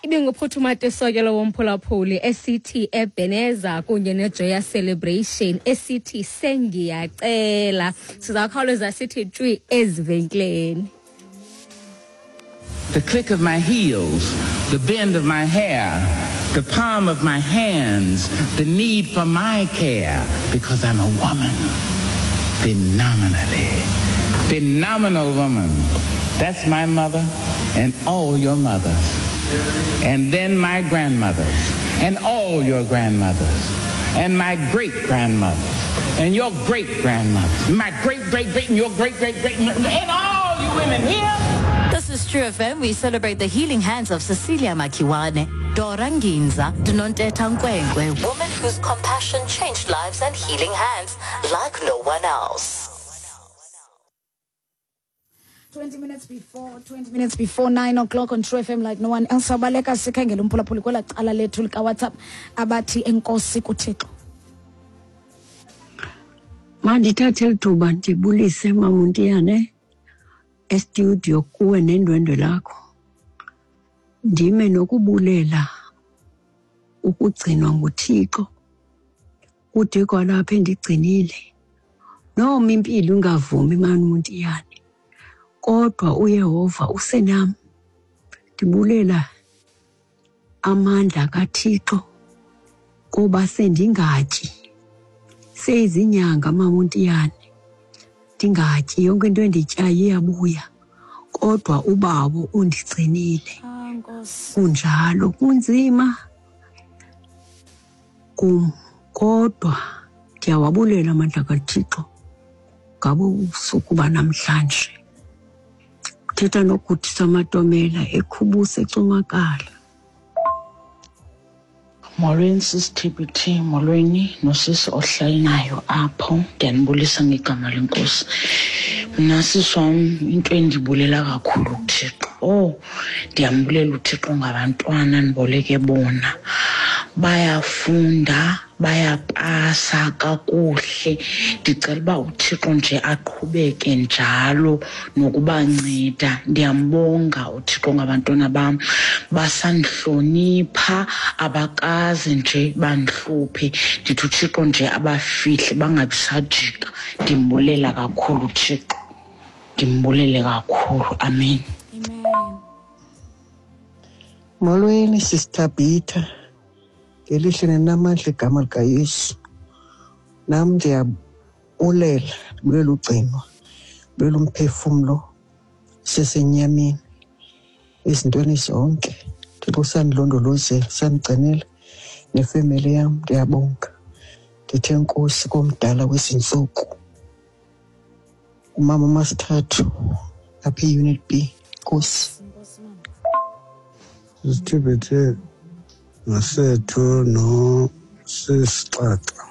Ibinguphuthuma Tesokelo womphulaphuli esithi Ebeneza kunye neJoya Celebration esithi Sengiyacela. Sizakhawuleza sithi tshwi ezivenkileni. The click of my heels, the bend of my hair, the palm of my hands, the need for my care, because I'm a woman. Phenomenally. Phenomenal woman. That's my mother and all your mothers. And then my grandmothers and all your grandmothers and my great-grandmothers and your great-grandmothers, my great-great-great and your great-great-great and all you women here. This is True FM. We celebrate the healing hands of Cecilia Makiwane, Dora Nginza, Nontetha Nkwenkwe, women whose compassion changed lives and healing hands like no one else. 20 minutes before 20 minutes before 9 o'clock on True FM like no one else. Abaleka sikhangele umphulaphuli kwela cala lethu likaWhatsApp abathi enkosi kuThixo. Mandithathe eli thuba ndibulise Mamuntiyane estudio kuwe nendwendwe lakho. Ndime nokubulela ukugcinwa nguThixo kude kwalapha endigcinile. Noma impilo ingavumi Mamuntiyane, kodwa uYehova usenam. Ndibulela amandla kaThixo kuba sendingatyi. Seyizinyanga Mamuntiyane ndingatyi, yonke into endityayo iyabuya, kodwa uBawo undigcinile. Kunjalo, kunzima kum, kodwa ndiyawabulela amandla kaThixo ngabo ubusuku banamhlanje. Thetha noGudisa Matomela ekhubuse eCumakala. Molweni sisi TBT, molweni nosisi ohleli nayo apho. Ndiyanibulisa ngegama lenkosi. Mna sisi wam, into endibulela kakhulu kuThixo, oh ndiyambulela uThixo ngabantwana ndiboleke bona. Bayafunda, bayapasa kakuhle. Ndicela uba uThixo nje aqhubeke njalo nokubanceda. Ndiyambonga uThixo ngabantwana bam, basandihlonipha, abakaze nje bandihluphe. Ndithi uThixo nje abafihle bangabi sajika. Ndimbulela kakhulu uThixo, ndimbulele kakhulu. Amen. Amen. Molweni Sister Bita, ngelihle nenamandla igama likaYesu. Nam ndiyabulela, ndibulela ugcinwa, ndibulela umphefumlo sesenyameni ezintweni zonke. Thixo usandilondolozela, usandigcinela nefemeli yam, ndiyabonga. Ndithe enkosi komdala wezintsuku, umama uMasithathu apha e-Unit B. Nkosi. Sisithibethe nosethu nosisixaxa.